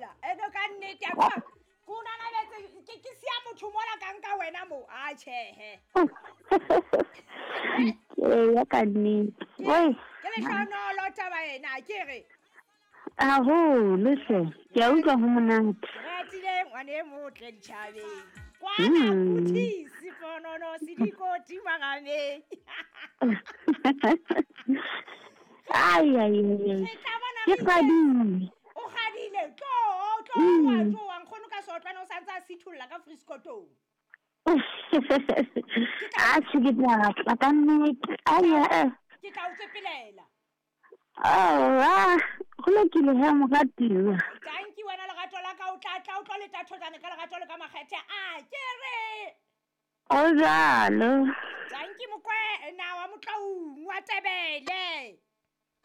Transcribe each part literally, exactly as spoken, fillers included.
Hela ene ka nnete a kwa ko nanabetse ke ke sia motho mola ka nka wena mo a tjhehe. Ke ya ka nnete. Oi. Ke le hlonolo taba ena ke re. Haholo hle. Ke a utlwa ho monate. Ratile ngwane e motle ditjhabeng. Kwana kuthisi ponono sidikoti marameng. Ai ai ai. Ke kgadile. O kgadile tlo tlo wa tlo wa nkgono ka sotlwana o santse a sitholla ka friskotong. A tjhe ke tla tla ka nnete. Ai ai. Ke tla o tsepelela. Ah, go lokile he moratiwa. Thank you wena lerato la ka o tla tla o tlo le tathotane ka lerato le ka makgethe a ke re. O jalo. Thank you mokwena wa motlaung wa Tebele.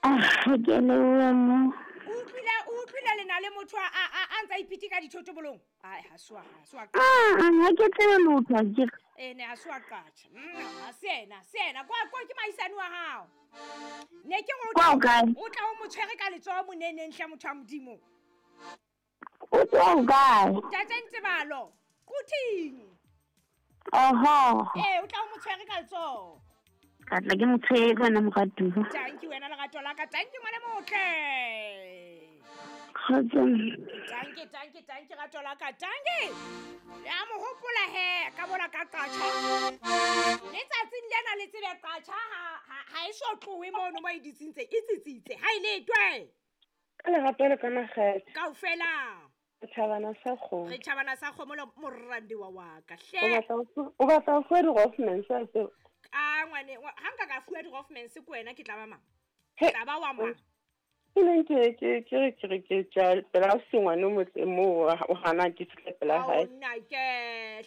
Ah, ke le mo. O utlwile o utlwile le na le motho a a a ntsa ipiti ka dithotobolong. Ai ha swa ha swa. Ah, ha ke tsebe lotho ke. Eh ne ha swa qatjha. Mm, ha se ena, se ena. Kwa kwa ke maisane wa hao. Ne ke go o tla o mo tshwere ka letsoho moneneng hle motho wa Modimo. O tla kae? Ntate Ntebalo. Kuthing. Oho. Eh o tla o mo tshwere ka letsoho. Ka tla ke mo tshwere wena moratuwa. Thank you wena lerato la ka. Thank you ngwane motle. Kgotso. Thank you, thank you, thank you rato la ka. Thank you. Ya mo hopola he ka bona ka qatjha. Letsatsing lena le tsebe qatjha ha ha e so tlowe mono mo e ditsintse e tsitsitse ha ile twe. Ka lerato le ka makgethe. Kaofela. Re tjhabana sa kgomo. Re tjhabana sa kgomo le morandi wa wa ka hle. O batla o batla ho fuwa di-Rothmans a tseo. A ngwane ha nka ka fuwa di-Rothmans ke wena ke tla ba mang? Ke tla ba wa mang? Ke neng ke ke ke re ke re ke tja pela o sengwane o motle moo o hana ke fihle pela hae. Nna ke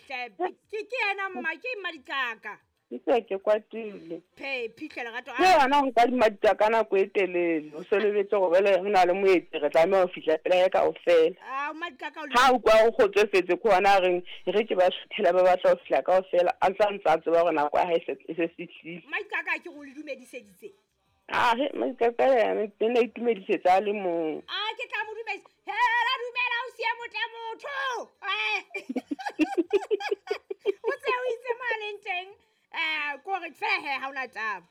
hle ke ke yena mma ke mmadikaka. Ke se ke kwatile. Phe phihle lerato. Ke yena o nka dimadika ka nako e telele. O sebeletse go bele re na le moeti re tlameha ho fihla pela hae kaofela. Ah mmadikaka o le. Ha o kwa o kgotsofetse ke hona reng re ke ba suthela ba batla ho fihla kaofela a ntsa ntsa tseba hore nako ya hae e se fihlile. Mmadikaka ke go le dumediseditse. Ah, he mmadikaka yena ke ne itumedisetsa a le mong. Ah ke tla mo dumedisa. Hela dumela o siya motle motho. Eh. O tse o itse mo a leng teng. Eh ko re fehe ha ona taba.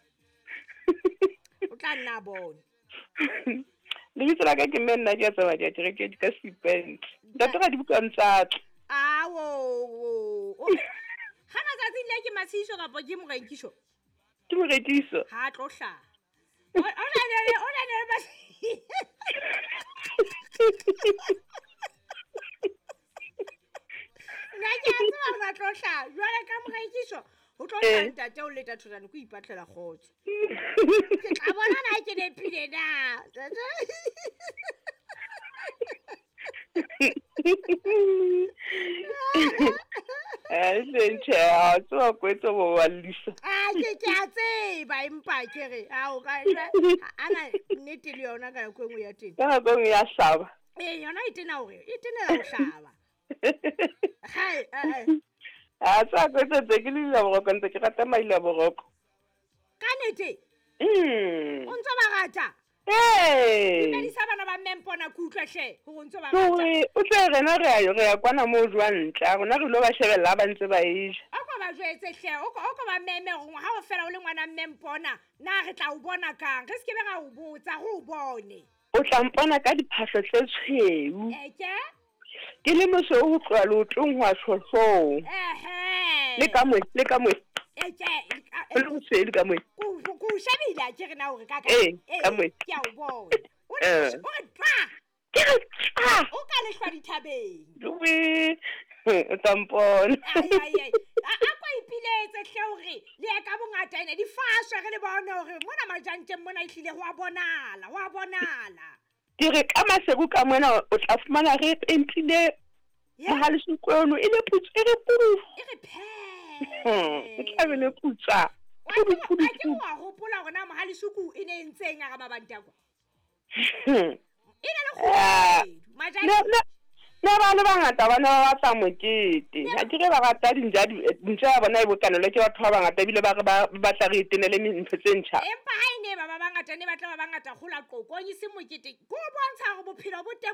O tla nna bone. Lebitso la ka ke mme nna ke a tseba ke re ke ka stipend. Ntate ga di buka ntsa. Ah wo. Ha matsatsing le ke Masiso kapa ke Morekiso? Ke Morekiso. Ha tlo hlaha. O na le o na le ba. Nna ke a tseba hore tlo hlaha. Jwale ka Morekiso o tlo tla ntate o leta thotane ko ipatlela kgotso. Ke tla bona na ke nepile na. Eh ntse a tswa kwetso bo wallisa. Ah ke ke a tseba empa ke re ha o ka ana nnete le yona ka nako e nngwe ya teng. Ka nako e nngwe ya hlaba. Eh yona e tena hore e tenela ho hlaba. Hai eh A tsa kwetso tse ke le boroko ntse ke rata maila boroko. Ka nnete? Mm. O ntse ba rata? Eh. Dumedisa bana ba mmempona ke utlwe hle hore o ntse ba rata. O tle rena re a re ya kwana mo jwang ntle. Rona re lo ba shebella ba ntse ba e ja. O ko ba jwetse hle o ko o ko ba meme hore ha o fela o le ngwana mmempona na re tla o bona kang? Re se ke be ra o botsa re o bone. O tla mpona ka diphahlo tse tshweu. Eke? Ke le mosweu ho tloha leotong ho ya hloohong. Ehe. Le ka moe, le ka moe. Eke. O le mosweu le ka moe. Ko ko shebile a ke re na hore ka ka. Eh, ka moe. Ke a o bona. O re twa. Ke re twa. O ka lehlwa dithabeng. Duwe. O tla mpona. Ai ai ai. A ko ipiletse hle hore le ya ka bongata ene di faswe re le bone hore mona majanteng mona e hlile ho a bonala, ho a bonala. Ke re ka maseru ka mona o tla fumana re pentile mohalesukwe ono e le putsa e re pudu. E re phe. E tla be le putsa. Pudu pudu. A ke wa hopola hore na mohalisuku e ne ntseng a ga mabanta kwa. E ne le kgoedu. Majanteng. Ne ba le bangata ba ne ba batla mokete. Ha ke re ba rata dintja dintja ya bona e bokanelo ke batho ba bangata ebile ba re ba batla re itenele ntho tse ntjha. Empa ha ine ba ba bangata ne batla ba bangata gola qoqong e se mokete. Go bontsha hore bophelo bo teng